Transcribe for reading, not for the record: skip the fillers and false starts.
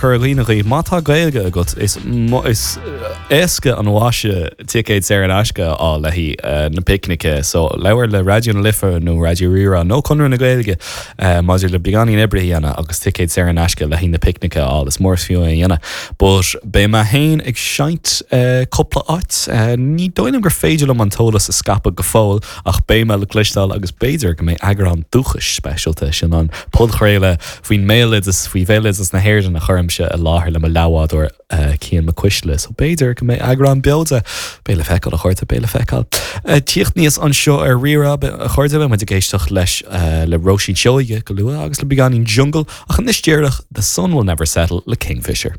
Cur i gcuimhne dhaoibh, má tá Gaeilge agat, is is éasca an mhaise ticéad saor in aisce a fháil le haghaidh na picnice. So labhair le Raidió na Life nó Raidió Rí-Rá nó Conradh na Gaeilge maidir le beagáinín oibre a dhéanamh agus ticéad saor in aisce le haghaidh na picnice a fháil. Is mór is fiú é a dhéanamh. But beidh mé féin ag seinnt cúpla áit. Ní dóigh liom gur féidir liom an t-eolas a scaipeadh go fóill ach beidh mé le cloisteáil agus b'fhéidir go mbeidh eagrán dúchais speisialta, sin an podchraoladh faoin mbéaloideas, faoi bhéaloideas na hÉireann a chuirimse i láthair le mo leathbhádóir Cian Mac Cuisle. So b'fhéidir go mbeidh eagrán beo de. Beidh le feiceáil, a chairde, beidh le feiceáil. Tíocht aníos anseo ar Rí-Rá, a chairde, beidh muid ag éisteacht leis le Róisín Seoighe go luath agus le beagáinín Jungle, ach anois díreach The Sun Will Never Settle le Kingfisher.